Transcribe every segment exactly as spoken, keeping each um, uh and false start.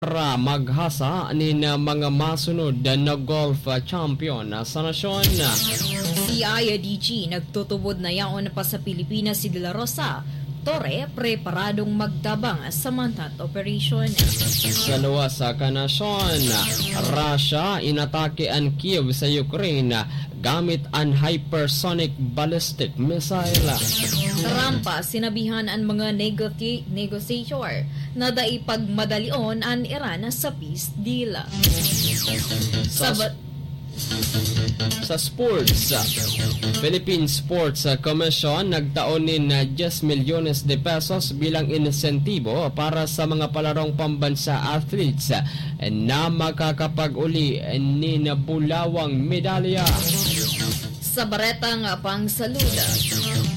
para maghasa nin mga masunod na golf champion sa nasyon. Si I D G nagtutubod na yaon pa sa Pilipinas si De La Rosa. Torre preparadong magtabang sa manhunt operation. Sa luwas sa kanasyon, Russia inatake an Kiev sa Ukraine gamit an hypersonic ballistic missile. Trump, sinabihan an mga negoti- negotiator na dai pagmadalion an Iran sa peace deal. Sa Sa ba- sa sports, Philippine Sports Commission nagtao nin diyes milyones de pesos bilang insentibo para sa mga palarong pambansa athletes na makakapag-uli nin bulawang medalya. Sa baretang pangsalud,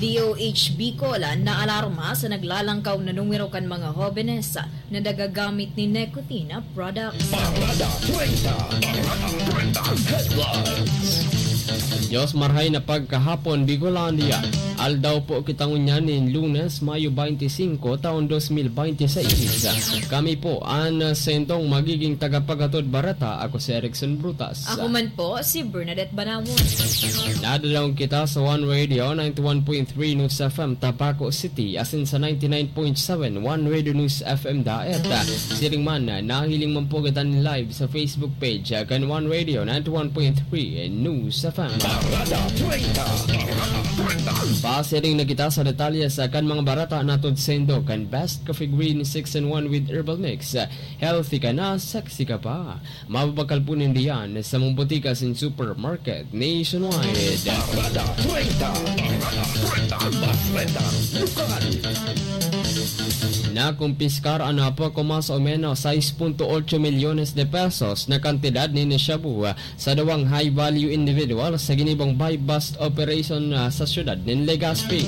D O H Bicol naalarma sa naglalangkaw na numero kan mga hobenes na nagagamit nin nicotine products. Parada treinta, Parada treinta Headlines. Diyos marhay na pagkahapon, Bicolandia. Aldaw po kita ngunyan nin Lunes, Mayo twenty-five, taon twenty twenty-six. Kami po an sentong magiging tagapaghatod bareta. Ako si Erickson Brutas. Ako man po, si Bernadette Banawon. Nadadaong kita sa One Radio ninety-one point three News F M Tabaco City, asin sa ninety-nine point seven One Radio News F M Daet. Siring man, nahiling man po kita nin live sa Facebook page kan One Radio ninety-one point three News F M. Parada treinta. Pasiring na kita sa detalye sa kan mga bareta na tudsindo kan Best Coffee Green six-in-one with Herbal Mix. Healthy ka na, sexy ka pa. Mababakal po ninda yan sa mga botika asin supermarket nationwide. Parada treinta. Parada treinta. Bareta lokal. Nakumpiskar an poco mas o menos sais punto otso milyones de pesos na kantidad nin shabu sa duwang high-value individual sa ginibong buy-bust operation, ah, sa siyudad nin Legazpi.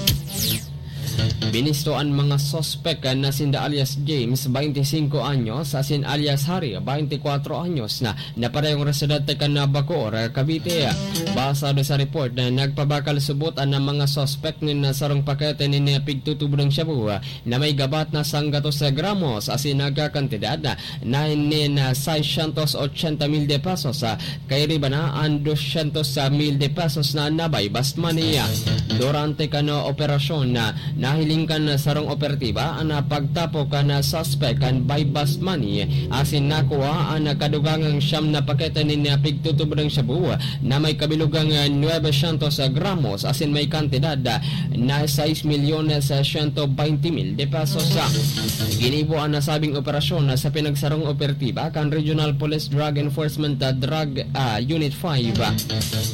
Binisto an mga suspek na sinda alias James, twenty-cinco anyos, asin alias Harry, twenty-kwatro anyos, na, na parehong residente kan Bacoor, Cavite. Basado sa report, na nagpabakal subot an mga suspek nin sarong pakete nin pigtutubod nin shabu na may gabat na sanggatos gramos asin nagkakantidad na nin seiscientos ochenta mil de pesos, ah, kairiba na an doscientos mil de pesos na na-buy-bust money. Durante kan operasyon, ah, nahiling kan sarong operatiba an pagtapo kan suspek kan buy-bust money asin nakuha an kadugangang siyam na pakete nin pigtutubod nin shabu na may kabilugang nuebe syentos gramos asin may kantidad na sais milyones siyento baynte mil de pesos. Ginibo an nasabing operasyon sa pinagsarong operatiba kan Regional Police Drug Enforcement, ah, Drug, ah, Unit five, ah,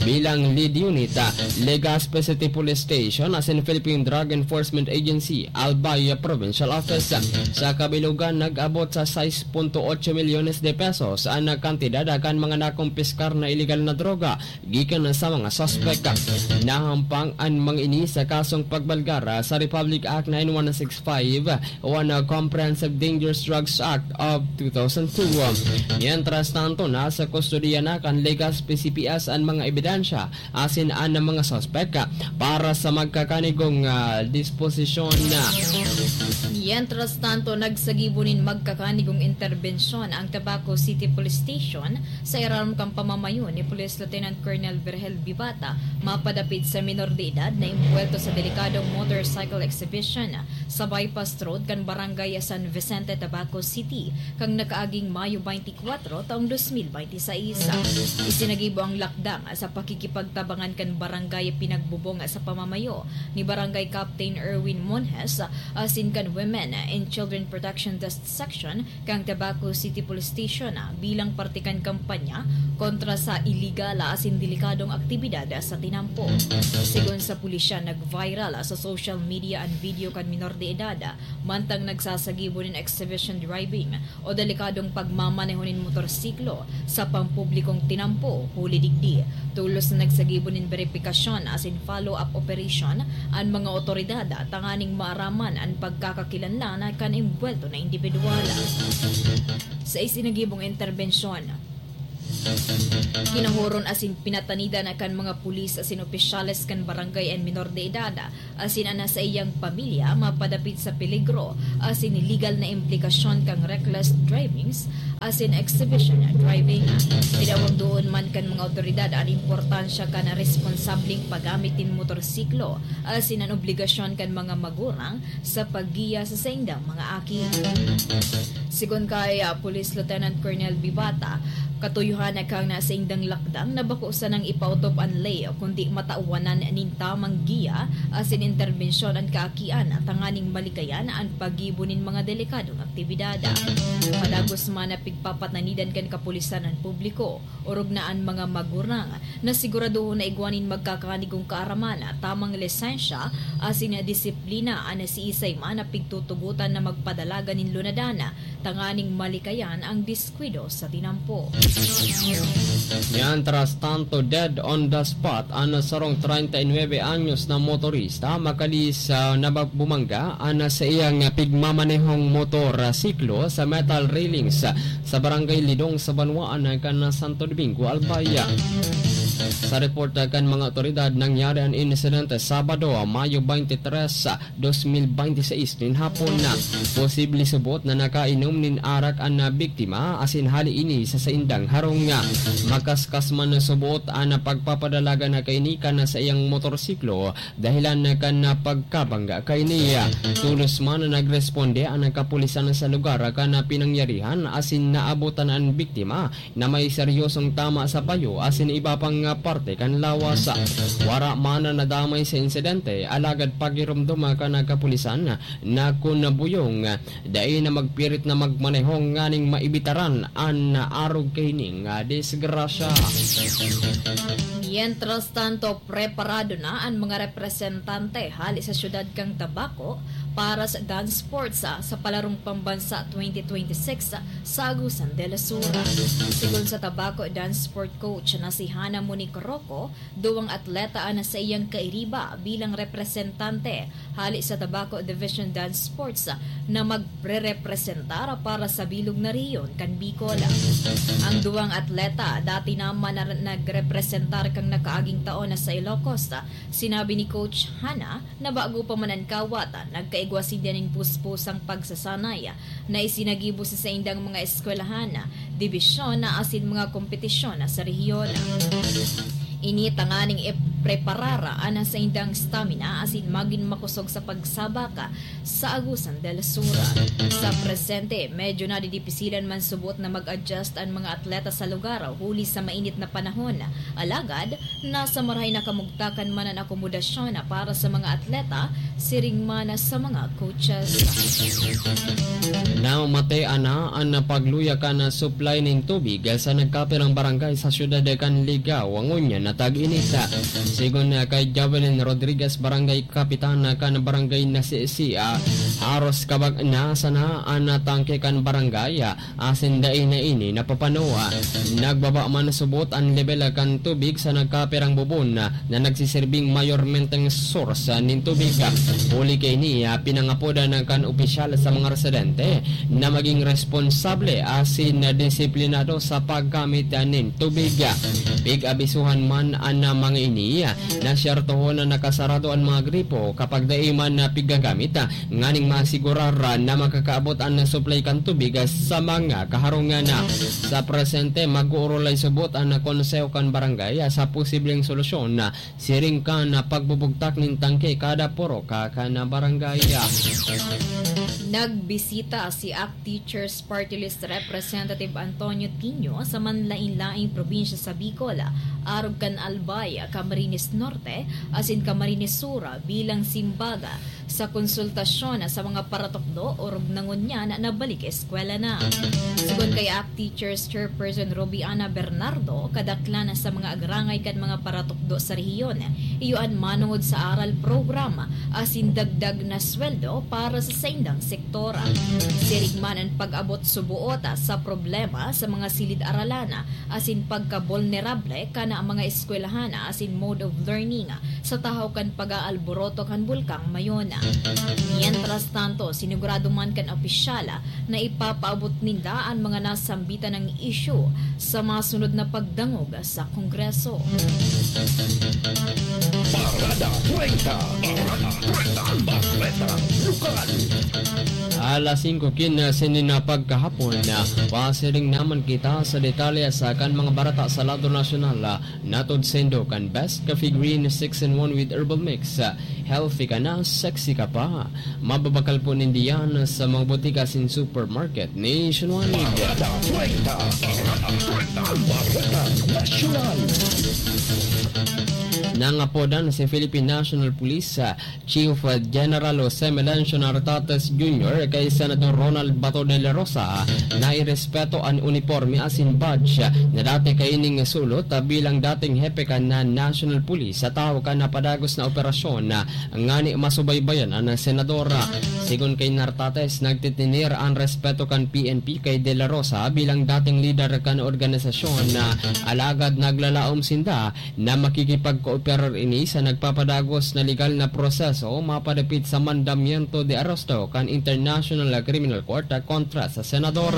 bilang lead unit, ah, Legazpi City Police Station asin Philippine Drug Enforcement Agency, Albay Provincial Office. Sa kabilugan, nag-abot sa sais punto otso milyones de pesos an kantidad kan mga nakumpiskar na iligal na droga gikan sa mga suspek. Nahampang an mga ini sa kasong pagbalgar sa Republic Act nine one six five o an Comprehensive Dangerous Drugs Act of two thousand two. Mientras tanto, nasa kustodiya na kan Legazpi C P S an mga ebidensya asin an mga suspek para sa magkakanigong, ah, disposisyon. Mientras tanto, nagsagibo nin magkakanigong interbensyon ang Tabaco City Police Station sa irarom kan pamamayo ni Police Lieutenant Colonel Virgel Bibata mapadapit sa minor de edad na imbuwelto sa delikadong motorcycle exhibition sa bypass road kan Barangay San Vicente, Tabaco City, kan nakaaging Mayo twenty-four, taong dos mil baynte sais. Isinagibo ang lakdang sa pakikipagtabangan kan barangay pinagbubong sa pamamayo ni Barangay Captain Erwin Monjes asin kan Women and Children Protection Desk Section kan Tabaco City Police Station, ah, bilang parte kan kampanya kontra sa iligal asin delikadong aktibidad sa tinampo. Segun sa pulisya, nag-viral sa social media an video kan minor de edad, mantang nagsasagibo nin exhibition driving o delikadong pagmamaneho nin motorsiklo sa pampublikong tinampo. Huli digdi, tolos na nagsagibo nin beripikasyon asin follow-up operation an mga otoridad tanganing maaraman an pagkakakilanlan kan imbuwelto na indibidwal. Sa isinagibong interbensyon, Kinahoron asin pinatanidan kan mga pulis asin opisyales kan barangay an minor de edad, asin an saiyang pamilya mapadapit sa peligro asin legal na implikasyon kan reckless drivings asin exhibition driving. Tinawag doon man kan mga awtoridad an importansya kan responsableng paggamit nin motorsiklo asin an obligasyon kan mga magurang sa paggiya sa saindang mga aki. Sigon kay, ah, Police Lieutenant Colonel Bibata, katuyohan na kang na saindang lakdang na bako sanang ipaotob an ley, kundi matawanan nin tamang giya asin interbensyon an kaakian tanganing malikayan an paggibo nin mga delikadong aktibidad. Padagos man na pigpapatanidan kan kapulisan an publiko, orog na an mga magurang na siguradohon na igwa nin magkakanigong kaaraman, tamang lisensya asin disiplina an siisay man na pigtutugotan na magpadalagan nin lunadan tanganing malikayan ang diskwido sa tinampo. Mientras tanto, dead on the spot an sarong treinta y nueve anyos na motorista makali sa nababumangga an sa iyang pigmamanehong motor siklo sa metal railings sa Barangay Lidong sa Banwaan kan Santo Domingo, Albay. Sa report kan mga otoridad, nangyari an insidente Sabado, Mayo twenty-three, dos mil bente seis nin hapon. Posible subot na nakainom nin arak an biktima asin hali ini sa saindang harong. Makaskas man na subot an pagpapadalagan na kaini kan saiyang motorsiklo dahilan na kan pagkabangga kaini. Tolos man na nagresponde an kapulisan sa lugar kan pinangyarihan asin naabotan an biktima na may seryosong tama sa payo asin iba pang parte kan lawas. Wara man na nadamay sa insidente, alagad pagiromdom kan kapulisan na kun buyong, dai na magpirit na magmaneho nganing maibitaran an arog kaining disgrasya. Mientras tanto, preparado na an mga representante hali sa siyudad kan Tabaco para sa dance sports, ah, sa Palarong Pambansa twenty twenty-six, ah, sa Agusan del Sur. Sigon sa Tabaco dance sport coach na si Hana Monique Roco, duwang atleta an saiyang kairiba bilang representante hali sa Tabaco Division Dance Sports na magrerepresentar para sa bilog na rehiyon kan Bicol. Ang duwang atleta dati naman na nagrepresentar kan nakaaging taon na sa Ilocos. Sinabi ni Coach Hana na bago pa man an kawat, nagkaigwa sinda nin puspusang pagsasanay na isinagibo sa saindang mga eskwelahan, dibisyon asin mga kompetisyon sa rehiyon. Ini tanganing ipreparar an saindang stamina asin magin makosog sa pagsabak sa Agusan del Sur. Sa presente, medyo nadidipisilan man subot na mag-adjust an mga atleta sa lugar huli sa mainit na panahon. Alagad, nasa marahay na kamugtakan man an akomodasyon para sa mga atleta, siring man sa mga coaches. Namamatean na an pagluya kan supply nin tubig sa nagkapirang barangay sa siyudad kan Ligao ngunyan na tag-init. Sigon kay Jovelyn Rodriguez, barangay kapitan kan barangay na si Sia, haros kabag na sana an tangke kan barangay, asin dai na ini napapano. Nagbaba man subot an lebel kan tubig sa nagkapirang bubon na nagsisirbing mayormenteng source nin tubig. Huli kaini, pinangapodan kan opisyal sa mga residente na maging responsable asin disiplinado sa paggamit nin tubig. Pig-abisuhan man an mga ini na syertohon na nakasarado an mga gripo kapag dai man na pigagamit, nganing masigurar na makakaabot an supply kan tubig sa mga kaharungan. Sa presente, mag-uurulay subot an konseho kan barangay sa posibleng solusyon, siring kan pagbubugtak nin tangke kada purok kan barangay. Nagbisita si ACT Teachers Party List Representative Antonio Tinio sa manlain-laing probinsya sa Bicol, arog kan Albay, Camarines Norte, asin Camarines Sur bilang simbag sa konsultasyon sa mga paratukdo orog na ngunyan nabalik eskwela na. Sigon kay ACT Teachers Chairperson Robiana Bernardo, kadaklan sa mga agrangay kan mga paratukdo sa rehiyon, iyo an manongod sa aral program asin dagdag na sweldo para sa saindang sektor. Siring man an pag-abot suboot sa problema sa mga silid-aralan asin pagkabulnerable kan mga eskwelahan asin mode of learning sa tahaw kan pag-aalboroto kan Bulkang Mayon. Mientras tanto, sinigurado man kan opisyal na ipapaabot ninda an mga nasambitan ng isyu sa masunod na pagdangog sa Kongreso. Parada treinta. Parada treinta. Bareta Lokal. Alas singko kinse nin pagkahapon, pasiring naman kita sa detalye sa kan mga bareta sa lado nasyonal. Natod saindo kan Best Coffee Green six-in-one with Herbal Mix. Healthy ka na, sexy ka pa. Mababakal po ninda yan sa mga botika asin supermarket nationwide. Bareta treinta. Bareta treinta. Bareta Nasyonal. Nangapodan si Philippine National Police, ah, Chief General Jose Melencio Nartates Junior kay Senador Ronald Bato de la Rosa na irespeto an uniporme asin badge na dati kaining sulot bilang dating hepe kan National Police sa tahaw kan napadagos na operasyon ngani masubaybayan an senador. Sigon kay Nartates, nagtitinier an respeto kan P N P kay De La Rosa bilang dating lider kan organisasyon, alagad naglalaom sinda na makikipagkooperar ini sa nagpapadagos na legal na proseso mapadapit sa mandamiento de aresto kan International Criminal Court kontra sa senador.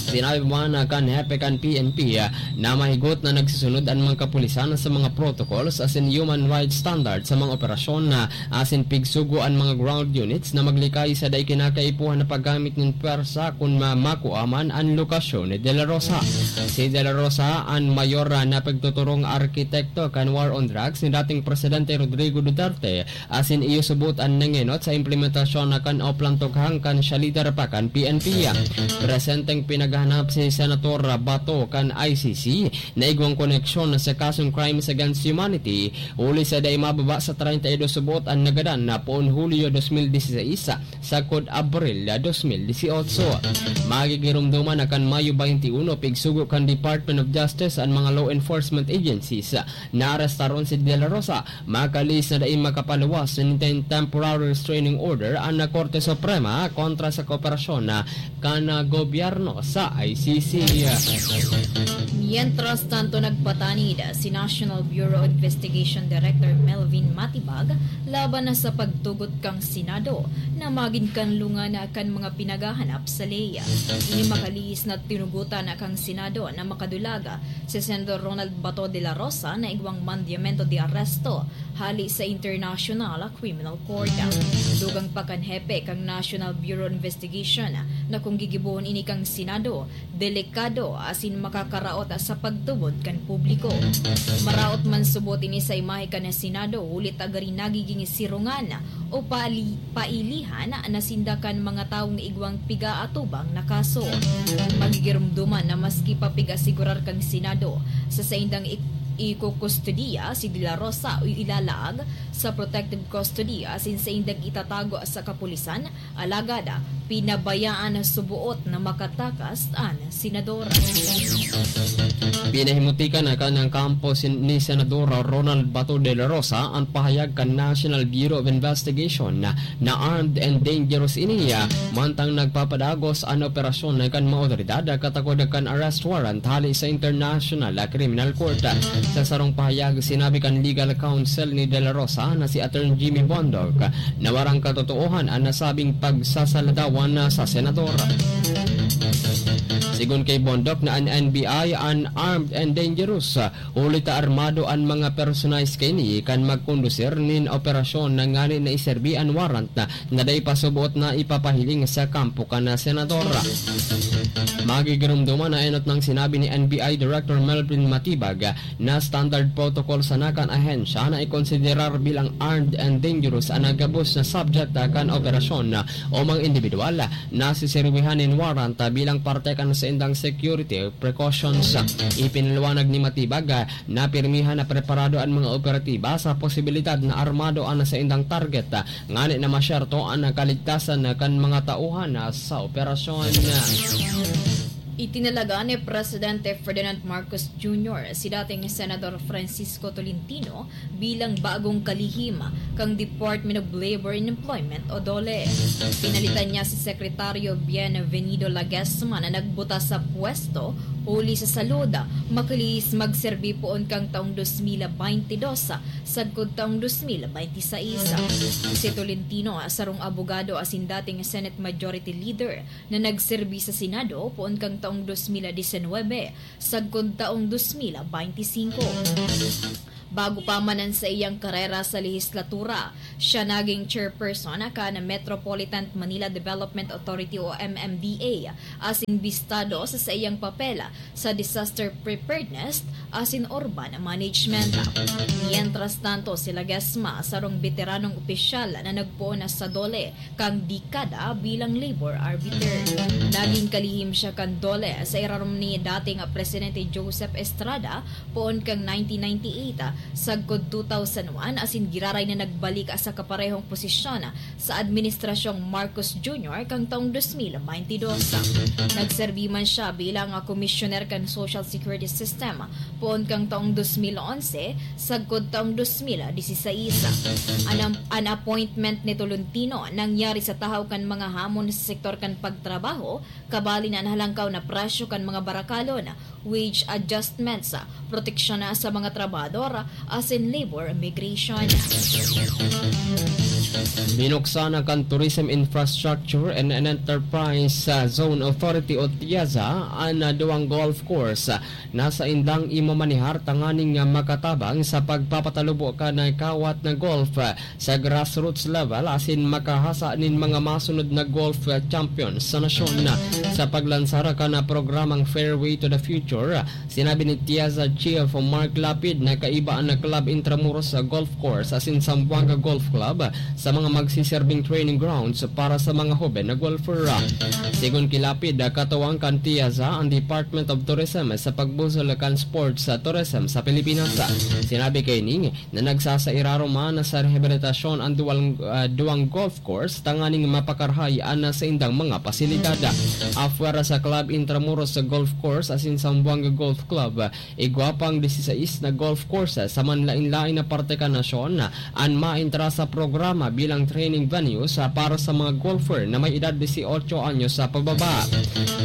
Sinabi man kan hepe kan P N P na mahigot na nagsusunod an mga kapulisan sa mga protocols asin human rights standards sa mga operasyon, asin pigsugo an mga ground units na maglikay sa dai kinakaipuhan na paggamit nin pwersa kun ma-, makua man an lokasyon ni De La Rosa. Si De La Rosa an mayor na pagtuturong arkitekto kan war on drugs ni dating Presidente Rodrigo Duterte, asin iyo subot an nangenot sa implementasyon na kan Oplan Tughang kan siya lider pa kan P N P. Presenteng pinaghahanap si Senator Bato kan I C C na igwang koneksyon sa kasong crimes against humanity, huli sa dai mababa sa treinta y dos subot an nagadan na poon Hulyo dos mil dieciséis, sagkod Abril dos mil dieciocho. Magigiromdoman na kan Mayo twenty-one, pigsugo kan Department of Justice an mga law enforcement agencies. Naarestaron si De La Rosa, makalihis na dai makapaluwas nin temporary restraining order an Korte Suprema kontra sa kooperasyon na kan gobyerno sa I C C. Mientras tanto, nagpatanid si National Bureau of Investigation Director Melvin Matibag laban na sa pagtugot kan Senado na magin kanlungan kan mga pinaghahanap sa ley. Ini makalihis na tinugotan kan Senado na makadulag si Senador Ronald Bato de la Rosa na igwang mandamiento de aresto hale sa International Criminal Court. Dugang pa kan hepe kan National Bureau of Investigation na kung gigibohon ini kan Senado, delikado asin makakaraot sa pagtubod kan publiko. Maraot man subot ini sa imahe kan Senado, huli ta gari nagiging sirungan o pali-, pailihan na sinda kan mga tawong igwang piga-atubang na kaso. Magigiromdoman na maski pa piga-asigurar kan Senado sa saindang ik-, ikukustodiya si De La Rosa o ilalaag sa protective custody asin saindang itatago sa kapulisan, alagad pinabayaan na suboot na makatakas an senador. Pinahimutikan na kan kampo sin-, ni Senador Ronald Bato de la Rosa an pahayag kan National Bureau of Investigation na, na armed and dangerous ini, mantang nagpapadagos an operasyon kan mga otoridad katakod kan arrest warrant hale sa International Criminal Court. Sa sarong pahayag, sinabi kan legal counsel ni De La Rosa na si Attorney Jimmy Bondoc na warang katotoohan an nasabing pagsasaladawan sa senador. Sigon kay Bondoc na an N B I an armed and dangerous, huli ta armado an mga personahe kaini kan magkondusir nin operasyon na ngani na iserbi an warrant na, na dai pa suboot na ipapahiling sa kampo kan senador. Magigiromdoman na enot nang sinabi ni N B I Director Melvin Matibag na standard protocol sana kan ahensya na ikonsiderar bilang armed and dangerous an gabos na subject kan operasyon o mga individual na siserbihan nin warrant bilang parte kan saindang security precautions. Ipinaliwanag ni Matibag na pirmihan na preparado an mga operatiba sa posibilidad na armado an saindang target, ngani na masyerto an kaligtasan kan mga tauhan sa operasyon. Itinalaga ni Presidente Ferdinand Marcos Junior si dating Senador Francisco Tolentino bilang bagong kalihim kan Department of Labor and Employment o DOLE. Pinalitan niya si Sekretaryo Bienvenido Laguesma na nagbuta sa pwesto huli sa salud, makalihis magserbi poon kan taong dos mil baynte dos sagkod taong dos mil baynte sais. Si Tolentino, sarong abogado asin dating Senate Majority Leader, na nagserbi sa Senado poon kan taong dos mil disinwebe sagkod taong dos mil baynte singko. Bago pa man an saiyang karera sa lehislatura, siya naging chairperson kan Metropolitan Manila Development Authority o M M D A, asin bistado sa saiyang papel sa disaster preparedness asin urban management. Mientras tanto, si Laguesma, sarong beteranong opisyal na nagpoon na sa DOLE, kan dekada bilang labor arbiter. Naging kalihim siya kan DOLE sa irarom ni dating Presidente Joseph Estrada poon kan nineteen ninety-eight sagkod two thousand one, asin giraray na nagbalik sa kaparehong posisyon sa Administrasyong Marcos Junior kan taong dos mil baynte dos. Nagserbi man siya bilang Commissioner kan Social Security System poon kan taong dos mil onse sagkod taong dos mil disisais. An, an appointment ni Tolentino nangyari sa tahaw kan mga hamon sa sektor kan pagtrabaho, kabali na an halangkaw na presyo kan mga barakalon, wage adjustments, proteksyon sa mga trabahador, asin labor migration. Binuksan na kan Tourism Infrastructure and Enterprise Zone Authority o TIAZA an duwang golf course na saindang imamanehar tanganing makatabang sa pagpapatalubo kan kawat na golf sa grassroots level asin makahasa nin mga masunod na golf champion sa nasyon. Sa paglansar kan programang Fairway to the Future, sinabi ni TIAZA Chief Mark Lapid na kaiba an Club Intramuros Golf Course asin Zamboanga Golf Club sa mga magsiserbing training grounds para sa mga hoben na golfer. Sigon ki Lapid, katuwang kan TIAZA an Department of Tourism sa pagbusol kan sports tourism sa Pilipinas. Sinabi kaini na nagsasairarom man sa rehabilitasyon an duwal, ah, duwang golf course tanganing mapakarahay an saindang mga pasilidad. Apwera sa Club Intramuros Golf Course asin Zamboanga Golf Club, igwa pang disisais na golf courses sa manlaen-laen na parte kan nasyon an maentra sa programa bilang training venues para sa mga golfer na may edad disiotso anyos sa pababa.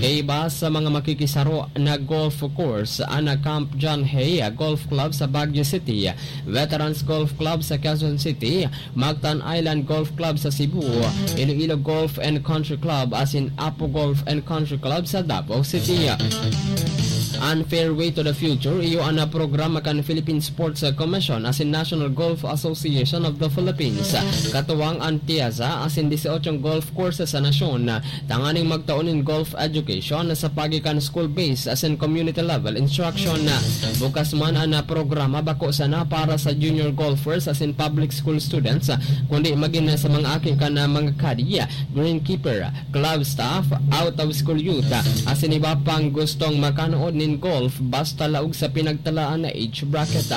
Kaiba sa mga makikisaro na golf course, an Camp John Hay Golf Club sa Baguio City, Veterans Golf Club sa Quezon City, Mactan Island Golf Club sa Cebu, Iloilo Golf and Country Club asin Apo Golf and Country Club sa Davao City. An Fairway to the Future iyo an programa kan Philippine Sports Commission asin National Golf Association of the Philippines, katuwang an TIAZA asin diseotsong golf courses sa nasyon, tanganing magtao nin golf education sa paagi kan school-based asin community-level instruction. Bukas man an programa, bako sana para sa junior golfers asin public school students, kundi magin sa mga aki kan mga caddy, greenkeeper, club staff, out-of-school youth, asin iba pang gustong makanood nin golf basta laog sa pinagtalaan na age bracket.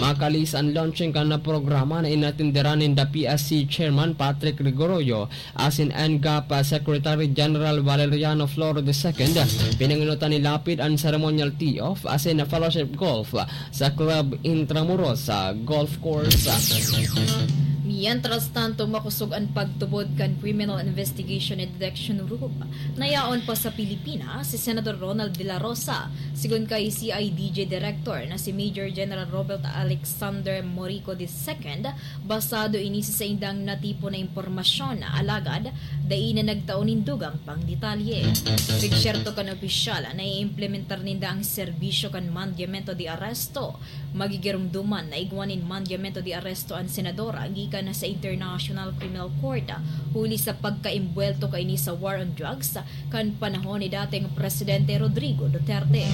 Makalihis an launching kan programa na inatenderan ninda P S C Chairman Patrick Rigoroyo asin NGAP Secretary General Valeriano Floro the second. Pinangenotan ni Lapid an ceremonial tee-off asin fellowship golf sa Club Intramuros Golf Course. Mientras tanto, makosog an pagtubod kan Criminal Investigation and Detection Group na yaon pa sa Pilipinas si Senador Ronald De La Rosa. Sigon kay C I D G Director na si Major General Robert Alexander Morico the second, basado ini sa saindang natipon na impormasyon, alagad dai na nagtao nin dugang pang detalye. Pigsyerto kan opisyal na iimplementar ninda ang serbisyo kan mandamiento de arresto. Magigiromdoman na igwa nin mandamiento de arresto an senador gikan sa International Criminal Court, huli sa pagkaimbwelto kaini sa war on drugs kan panahon ni dating Presidente Rodrigo Duterte.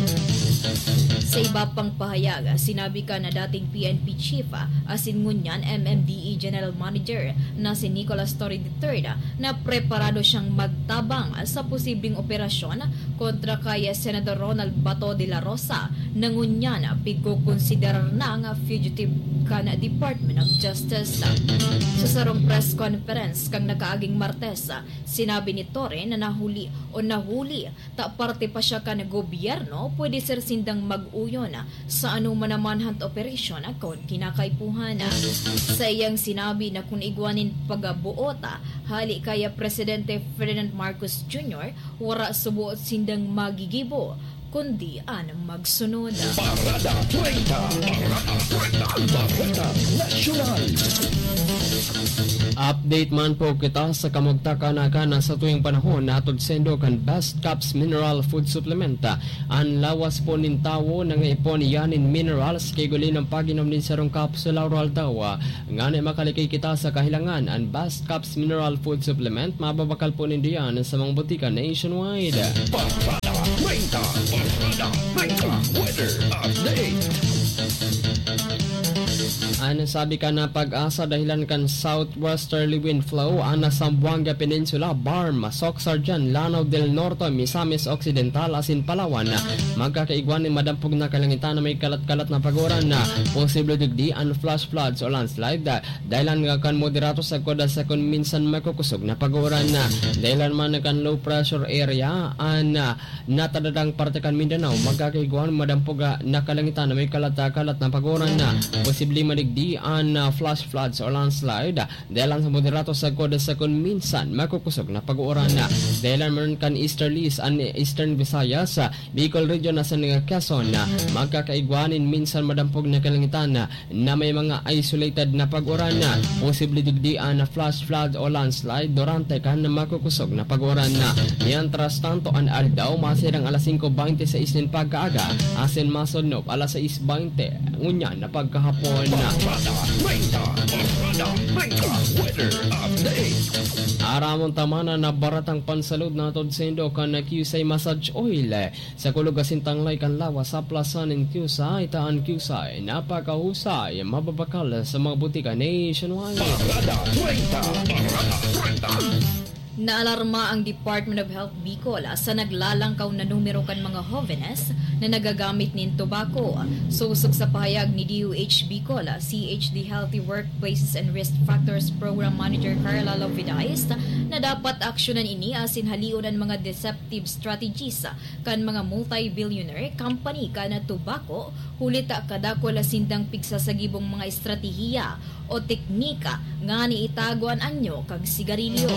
Sa iba pang pahayag, sinabi kan dating P N P Chief asin ngunyan M M D E General Manager na si Nicolas Torre the third na preparado siyang magtabang sa posibleng operasyon kontra kay Senador Ronald Bato de la Rosa na ngunyan pigkokonsiderar na nga fugitive kan Department of Justice. Sa sarong press conference kan nakaaging Martes, sinabi ni Torre na nahuli o nahuli ta parte pa siya kan gobyerno, pwede ser sindang mag-uyon sa anoman na manhunt operation kun kinakaipuhan. Sa iyang sinabi na kun igwa nin pagbuot hali kay Presidente Ferdinand Marcos Junior, wara suboot sindang magigibo, kundi an magsunod. Parada treinta, Parada treinta, Parada Nasyonal. Update man po kita sa kamugtakan na sa tuwing panahon na hatod saindo kan Best Caps Mineral Food Supplement. An lawas po nin tawo nangaipon iyan nin minerals, kay guli ng pag-inom nin sarong kapsula o aldaw, ngani makalikay kita sa kahilangan. An Best Caps Mineral Food Supplement, mababakal po nindo yan sa mga botika nationwide. Parada treinta, Parada treinta, weather update. An sabi kan PAGASA, dahilan kan southwesterly wind flow an Zamboanga Peninsula, BARMM, Soccsksargen, Lanao del Norte, Misamis Occidental asin Palawan, magkakaigwa nin madampog na kalangitan na may kalat-kalat na pag-uran. Posible digdi an flash floods o landslide, dahilan kan moderato sagkod sa kun minsan makukusog na pag-uran. Dahilan man kan low pressure area an natadadang parte kan Mindanao, magkakaigwa nin madampog na kalangitan na may kalat-kalat na pag-uran. Posible man digdi an flash floods o landslide, dahilan sa moderato sagkod sa kun minsan makukusog na pag-uran. Dahilan man kan easterlies an Eastern Visayas, Bicol Region asin Quezon, magkakaigwa nin minsan madampog na kalangitan na may mga isolated na pag-uran. Posible digdi an flash flood o landslide durante kan makukusog na pag-uran. Mientras tanto, an aldaw masirang alas singko beinti sais nin pagkaaga asin masodnop alas sais beinti ngunyan na pagkahapon. Parada treinta, Parada treinta, weather update. Aramon ta man an baratang pansalud na hatod saindo kan Q C I Massage Oil. Sa kulog asin tanglay kan lawas sa Plaza nin Q C I, ta an Q C I napakahusay, mababakal sa mga botika nationwide. Parada treinta, Parada treinta. Naalarma ang Department of Health Bicol sa naglalangkaw na numero kan mga hovenes na nagagamit nin tobacco. Sosog sa pahayag ni D O H Bicol, C H D Healthy Workplaces and Risk Factors Program Manager Carla Lovidais, na dapat aksyonan ini asin halion an mga deceptive strategies kan mga multi-billionaire company kan tobacco, huli ta kadakul sindang pigsasagibong mga estratehiya o teknika ngani itago an anyo kan sigarilyo.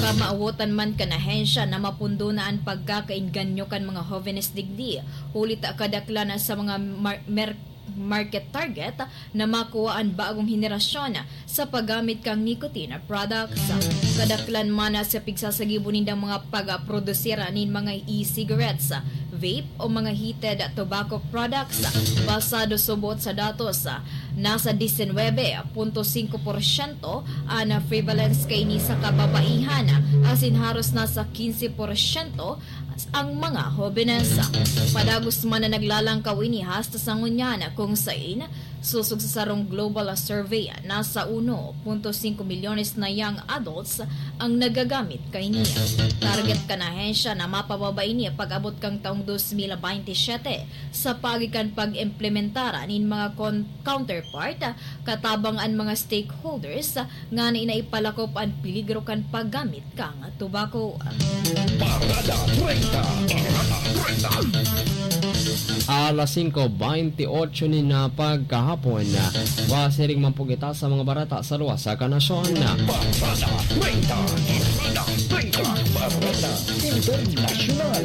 Kamawotan man kan ahensya na mapundo na an pagkakaengganyo kan mga hovenes digdi, huli ta kadaklan sa mga mar-, mer-, market target na makua an bagong henerasyon sa paggamit kan nicotine products. Kadaklan man sa pigsasagibo nindang mga pagprodusir nin mga e-cigarettes, vape o mga heated tobacco products. Basado subot sa datos, nasa disinwebe punto singko porsyento an prevalence kaini sa kababaihan, asin haros nasa kinse porsyento ang mga hobenes. Padagos man na naglalangkaw ini hasta sa ngunyan, kung sain, sosog sa sarong global survey, nasa uno punto singko milyones na young adults ang nagagamit kaini. Target kan ahensya na mapababa ini pag-abot kan taong dos mil baynte siyete, sa paagi kan pag-implementar nin mga kon-, counterpart, katabang an mga stakeholders, ngani na ipalakop an peligro kan paggamit kan tobacco. Parada treinta, Parada treinta. Alas singko beinti otso nin pagkahapon. Pasiring man po kita sa mga bareta sa luwas kan nasyon. Parada treinta, Parada treinta, Parada Internasyonal.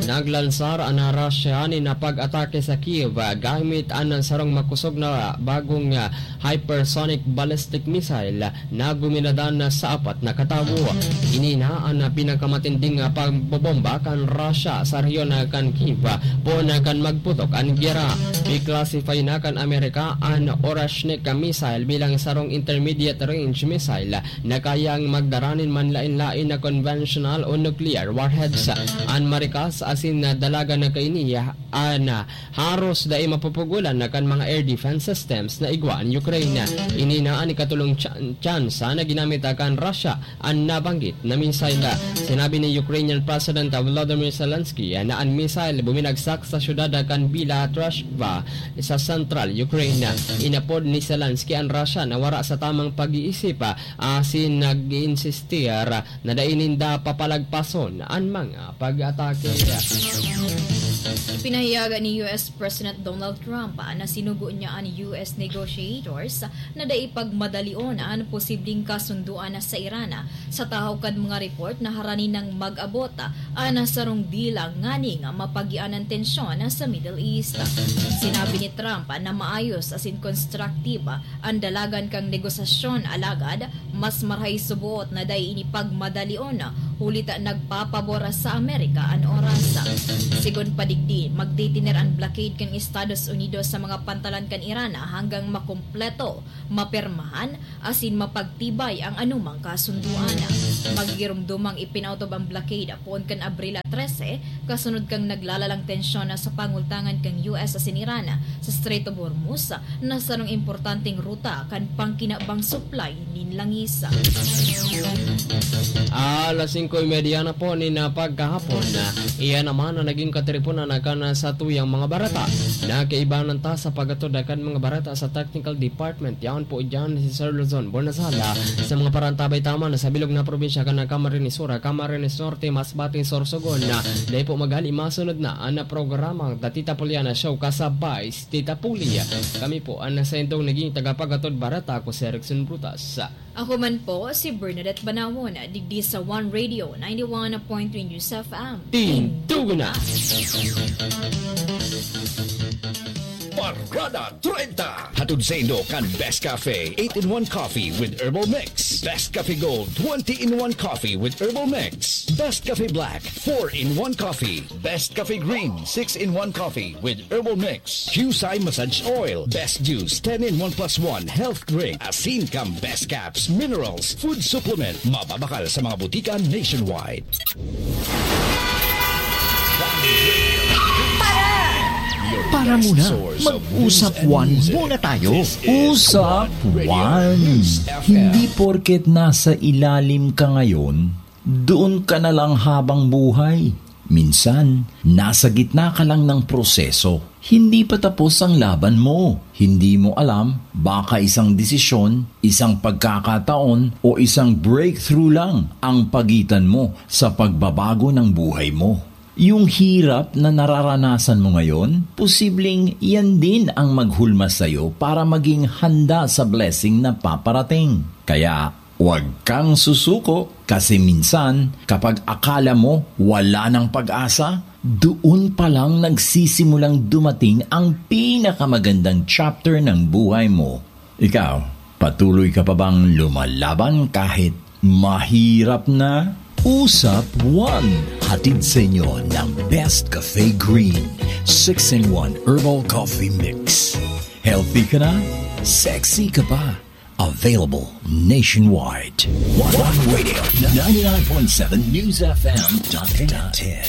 Naglansar an Russia nin pag-atake sa Kyiv gamit an sarong makosog na bagong, ah, hypersonic ballistic missile na guminadan sa apat na katawo. Ini na an pinakamatinding pagbobomba kan Russia sa rehiyon kan Kyiv poon kan magputok an giyera. I-classify na kan Amerika an Orashnik missile bilang sarong intermediate range missile na kayang magdara nin manlaen-laen na conventional o nuclear warheads. An marikas a asin na dalagan na kaini, ah, na haros dai mapupugolan na kan mga air defense systems na igwa an Ukraine. Ini na an ikatolong tsa-, tsansa na ginamit kan Russia an nabanggit na missile. Sinabi ni Ukrainian President Volodymyr Zelensky na an missile buminagsak sa syudad kan Bilatrashva sa central Ukraine. Inapod ni Zelensky an Russia na wara sa tamang pag-iisip, asin nag-iinsistir na dai ninda papalagpason an mga pag-atake. Ipinahayag ni U S President Donald Trump na sinugo niya an U S negotiators na dai pagmadalion an posibleng kasundoan sa Iran, sa tahaw kan mga report na harani nang mag-abot an sarong dilang nganing mapagian an tensyon sa Middle East. Sinabi ni Trump na maayos asin konstruktibo an dalagan kan negosasyon, alagad mas marahay suboot na dai ini pagmadalion, huli ta nagpapabor sa Amerika an oras. Sigon pa digdi, magtitiner an blockade kan Estados Unidos sa mga pantalan kan Iran hanggang makumpleto, mapirmahan, asin mapagtibay ang anumang kasunduan. Magigiromdomang ipinautob ang blockade poon kan Abril trese, kasunod kan naglalalang tensyon sa pangultangan kan U S asin Iran sa Strait of Hormuz, na sarong importanteng ruta kan pangkinabang supply nin langis. Alas singko y media na po nin, ah, pagkahapon, na iyan naman ang naging katiriponan na kan, ah, satuyang mga bareta. Nakaibanan ta sa pag-atod kan mga bareta sa technical department. Yaon po diyan si Sir Luzon Bonasala sa mga parantabay taman sa bilog na probinsya kan Camarines Sur, Camarines Norte, Masbate, Sorsogon, na dai po maghali masunod na ang programa, The Tita Puliana Show, kasabay si Tita Puli. Kami po ang nasa indong naging tagapag-atod bareta, ako si Erickson Brutas. Ako man po si Bernadette Banawon, digdi sa One Radio, ninety-one point three News F M. Tindugo na! Parada treinta. Hatod saindo kan Best Cafe, eight-in-one Coffee with Herbal Mix. Best Cafe Gold, twenty-in-one Coffee with Herbal Mix. Best Cafe Black, four-in-one Coffee. Best Cafe Green, six-in-one Coffee with Herbal Mix. Qcye Massage Oil, Best Juice, ten-in-one plus one Health Drink. Asin kan Best Caps, Minerals, Food Supplement. Mababakal sa mga butika nationwide. Para muna, mag-usap one muna tayo. Usap one. Hindi porket nasa ilalim ka ngayon, doon ka na lang habang buhay. Minsan, nasa gitna ka lang ng proseso. Hindi pa tapos ang laban mo. Hindi mo alam, baka isang desisyon, isang pagkakataon, o isang breakthrough lang ang pagitan mo sa pagbabago ng buhay mo. Yung hirap na nararanasan mo ngayon, posibleng yan din ang maghulma sa'yo para maging handa sa blessing na paparating. Kaya, huwag kang susuko, kasi minsan, kapag akala mo wala nang pag-asa, doon pa lang nagsisimulang dumating ang pinakamagandang chapter ng buhay mo. Ikaw, patuloy ka pa bang lumalaban kahit mahirap na? Usap one, hatid sa inyo ng Best Cafe Green, six-in-one Herbal Coffee Mix. Healthy ka na? Sexy ka pa? Available nationwide. One Radio, ninety-nine point seven News F M dot ten.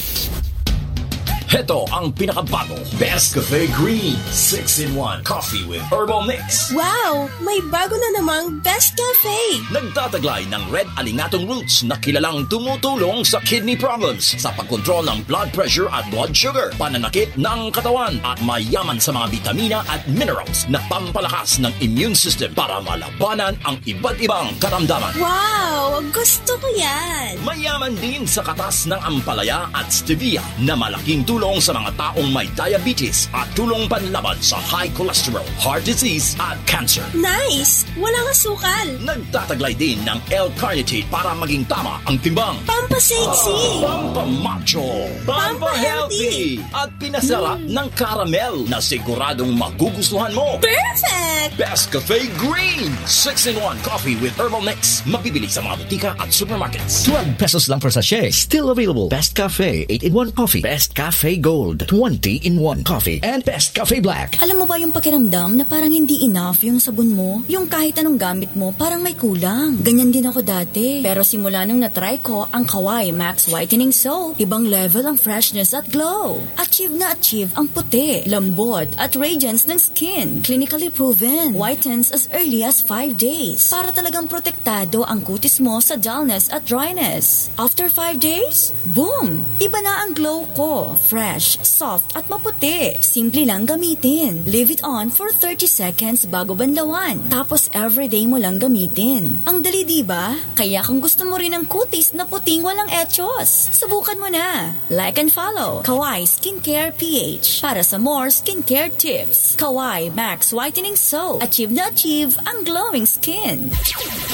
Heto ang pinakabago, Best Cafe Green, six-in-one Coffee with Herbal Mix. Wow! May bago na namang Best Cafe! Nagtataglay ng red alingatong roots na kilalang tumutulong sa kidney problems, sa pagkontrol ng blood pressure at blood sugar, pananakit ng katawan, at mayaman sa mga bitamina at minerals na pampalakas ng immune system para malabanan ang iba't ibang karamdaman. Wow! Gusto ko yan! Mayaman din sa katas ng ampalaya at stevia na malaking tulong sa mga taong may diabetes at tulong panlaban sa high cholesterol, heart disease at cancer. Nice! Walang asukal! Nagtataglay din ng L-carnitine para maging tama ang timbang. Pampasexy! Pampamacho! Pampahealthy! At pinasarap ng caramel na siguradong magugustuhan mo. Perfect! Best Cafe Green, six-in-one Coffee with Herbal Mix. Mabibili sa mga butika at supermarkets. Twelve pesos lang per sachet. Still available. Best Cafe, eight-in-one Coffee. Best Cafe. A Gold twenty-in-one Coffee and Best Cafe Black. Alam mo ba yung pakiramdam na parang hindi enough yung sabon mo? Yung kahit anong gamit mo, parang may kulang. Ganyan din ako dati. Pero simula nung na-try ko ang Kawai Max Whitening Soap, ibang level ang freshness at glow. Achieve na achieve ang puti, lambot, at radiance ng skin. Clinically proven. Whitens as early as five days. Para talagang protektado ang kutis mo sa dullness at dryness. After five days, boom! Iba na ang glow ko. Fresh, soft, at maputi. Simple lang gamitin. Leave it on for thirty seconds bago banlawan. Tapos everyday mo lang gamitin. Ang dali, di ba? Kaya kung gusto mo rin ng kutis na puting walang echos, subukan mo na. Like and follow Kawai Skincare P H para sa more skincare tips. Kawai Max Whitening Soap. Achieve na achieve ang glowing skin.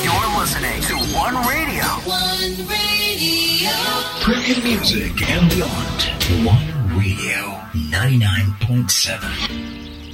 You're listening to One Radio. One Radio. Premium music and beyond. One Radio, ninety-nine point seven.